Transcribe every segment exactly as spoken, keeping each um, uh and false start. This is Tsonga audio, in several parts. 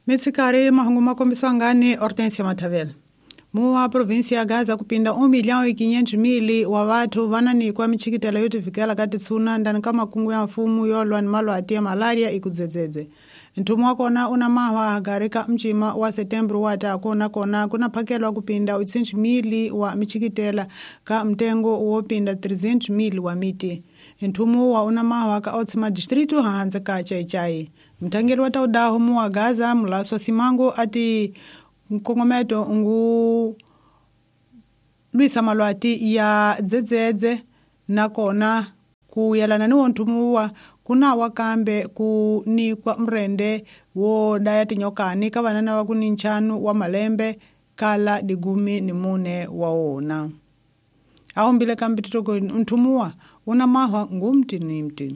Mitsikari mahungu makombiswa ngani Hortensia Matavela. Muwa provinsia ya Gaza kupinda um milhão e quinhentos mil wa vathu vananikwa michikitela yotivikela ka titsuna ndani ka makungu ya mfumo yolwa ni malwati ya malaria ikudzedzedze. Nthumu wa kona una mahwa hagari ka mcima wa setembro wa tako na kona kuna phakelwa kupinda oitocentos mil wa michikitela ka mtengo wo pinda trezentos mil wa miti. Nthumu wa una mahwa ka otsima distrito hanze ka Chaichai. Mthangeli wa taudaho muwa Gaza Mulaswa Simango ati nkongometo ngu lwisa malwati ya dzedzedze nakona kuyelana ni wonthumu kuna wakambe ku nikwa mrende wo daya tinyokani ka vanana va ku ni nchanu wa malembe kala digumi ni mune wa wona. Aombile kambe titoko nthumuwa una mahwa ngumti ni mti.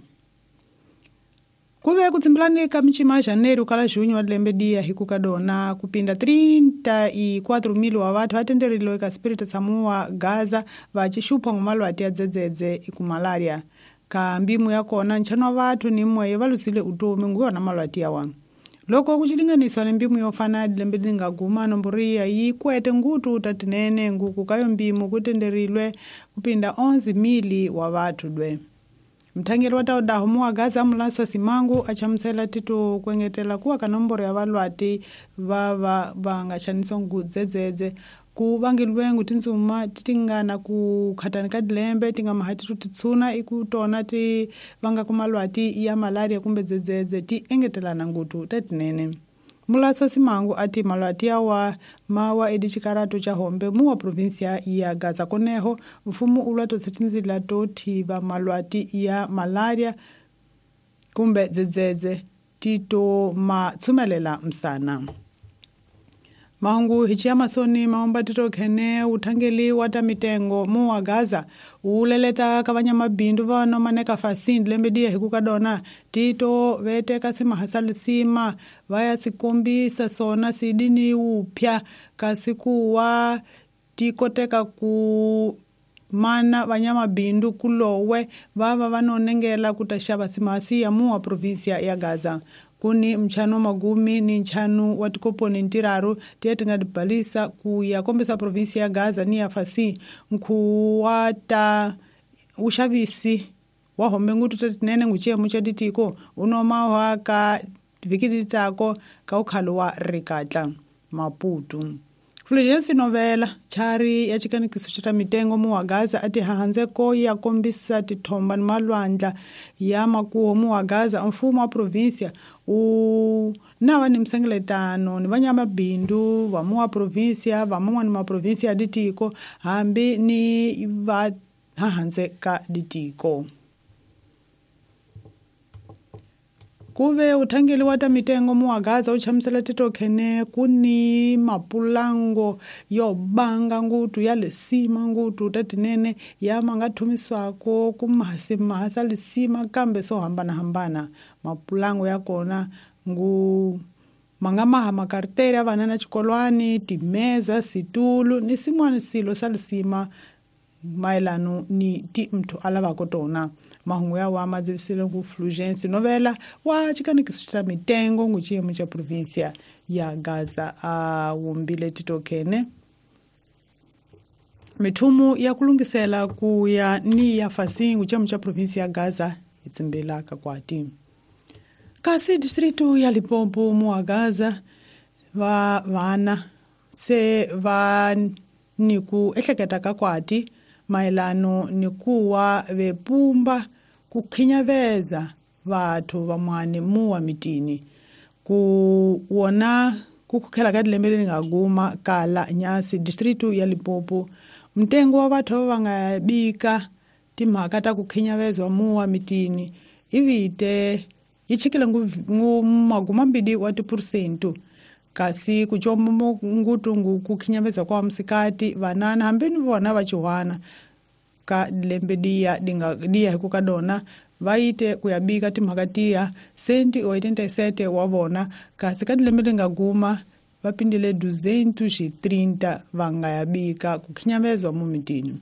Kuve kutsimbulani ka michima ya janeiro kala junho wa lembe dia hikukadona kupinda trinta e quatro mil wa vathu atenderilwe ka Espírito Samoa Gaza vachixupha ngumalwati ya dzedzedze iku malaria. Ka mbimu ya kona nchano wa vathu ni mmwe valusile utomi nguyona malwati ya wanu. Loko kuchilinganiswa ni mbimu yofana lembe lingaguma nomboriya yi kwete ngutu tatinene nguku kayo mbimu kutenderilwe kupinda onze mil wa vathu dwe. Mthangeli wa taudaho muwa Gaza Mulaswa Simango achamusela tito kuengetela kuwa ka nomboro ya valwati va va va nga xaniswa ngudzedzedze ku vangilwengu tindzuma titingana ku khatani ka dilembe ti nga mahati titsuna iku tona ti vanga ku malwati ya malaria kumbe dzedzedze ti engetelana ngutu tatinene. Mulaswa Simango ati malwati yawa mawa edichikarato cha hombe muwa provinsia ya Gaza koneho mfumo ulwa totsetinzila tothiva malwati ya malaria kumbe dzedzedze tito matsumelela msana. Mahungu hichia masoni maomba tito khene uthangeli wa ta mitengo muwa Gaza uleleta ka mabindu va nomaneka fasindi lembe dia hikukadona tito veteka simahasalisima vaya sikombisa sona sidini upya kasi kuwa tikoteka ku mana vanyamabindu kulowe vava vanonengela kutaxava simahasi ya muwa provinsia ya Gaza. Kuni mchano magumi ni nchanu wa tikoponi ntiraru tiye tingadibhalisa kuya kombisa provinsia ya Gaza ni ya fasi nkuwata uxavisi wa hombe ngutu tatinene nguchiyemu cha ditiko unomahwa ka vhiki titako ka ukhalo wa rikatla Maputo. Fulgencio Novela chari ya chikanikiso cha mitengo muwa Gaza ati hahanzeko ya kombisa tithomba ni malwandla ya makuho muwa Gaza mfumo wa provinsia u nava ni msengeletano ni vanyamabindu va muwa provinsia va man'wana ma provinsia ya ditiko hambi ni va hahandze ka ditiko. Kuve uthangeli wa ta mitengo muwa Gaza uchamusela tito khene kuni mapulango yo banga ngutu ya lesima ngutu tatinene ya manga thumiswako kumahasi mahasa lesima kambe so hambana hambana mapulango ya kona ngu manga maha makarteri ya vanana chikolwani timeza situlu ni simwana silo sa lesima maelano ni ti mthu alavako tona. Mahungu ya wa madzivisile ngu Fulgencio Novela wa chikanikiso cha mitengo ngu chiyemu cha provinsia ya Gaza a wumbile titokene. Mithumu ya kulungisela kuya ni ya fasi ngu chiyemu cha provinsia ya Gaza itsimbela kakwati. Kasi distrito ya Limpopo muwa Gaza va vana se va niku ehleketa kakwati maelano ni kuwa vepumba kukhinyaveza vathu vamwani muwa mitini ku wona kukhukhela ka dilembe leri nga guma kala nyasi distrito ya Limpopo mtengo wa vathu va nga bika timhaka ta ku khinyaveza muwa mitini ivite yi chikile ngu maguma mbili wa tiphurusento kasi kuchomo ngutungu kukhinyaveza kwa msikati vanana hambeni vona vachiwana ka lembe dia dinga dia hikukadona vaite kuyabika timhaka tiya senti oitenta e sete wa vona kasi ka dilembe lingaguma vapindile duzentos e trinta vangayabika kukhinyaveza mumitini.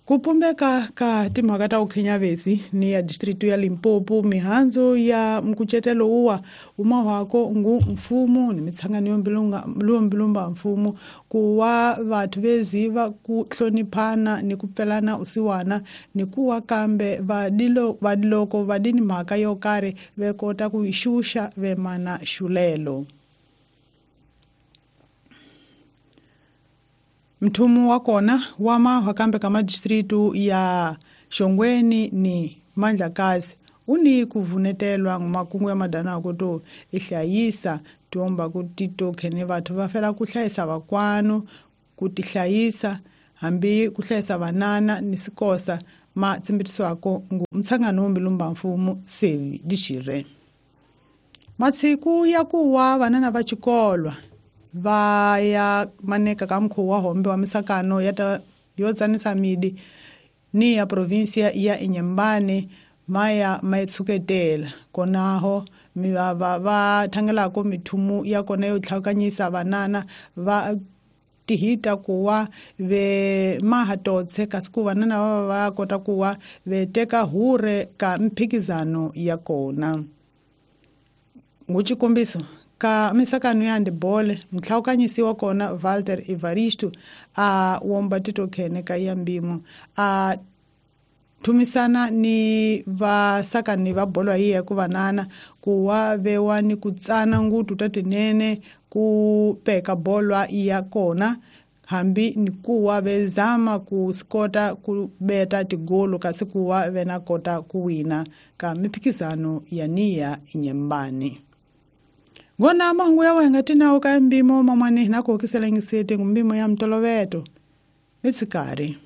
Ku pumbeka ka timhaka ta ukhinyavesi ni ya distritu ya Limpopo mihandzu ya mkucetelo uwa umahwako ngu mfumo ni mitsangano yombilunga lombilumba mfumo kuwa vathu veziva ku hloniphana ni ku pfelana usiwana ni kuwa kambe vadilo vadiloko vadini mhaka yo karhi vekota ku xuxa vemana xulelo. Mthumu wa kona wa mahwa kambe ka madistritu ya Shongweni ni Mandlakazi uni kuvunetelwa ngumakungu ya madana kuto ihlayisa tiomba ku titokhene vathu va fela ku hlayisa vakwanu ku tihlayisa hambi ku hlayisa vanana ni sikosa ma tsimbitisiwako ngu mtsangano wombilumba mfumo sevi dixire. Matsiku ya kuwa vanana va xikolwa va ya maneka ka mukhuva wa hombe wa misakano ya ta yo tsanisa midi ni ya provinsia ya Inhambane maya maitshuketela konaho mivava va thangelako mithumu ya kona yo tlhakanyisa vanana va tihita kuwa ve mahatotse kasi ku vanana va va kota kuwa ve teka hure ka mphikizano ya kona. Nguxikombiso ka misakano ya handball mtlhawukanyisi wa kona Walter Evaristo a womba titokhene ka ya mbimo a thumisana ni vasakani va bolo yi ya ku vanana kuwa vewa ni ku tsana ngutu ta tinene ku peka bolo ya kona hambi ni kuwa vezama ku skota ku beta tigolo kasi kuwa vena kota ku wina ka miphikizano ya niya Inhambane. Ngona mahungu ya wenga tinawo ka mbimo mamwane na ku hokiselengisete ngumbimo ya mtoloveto mitsikari.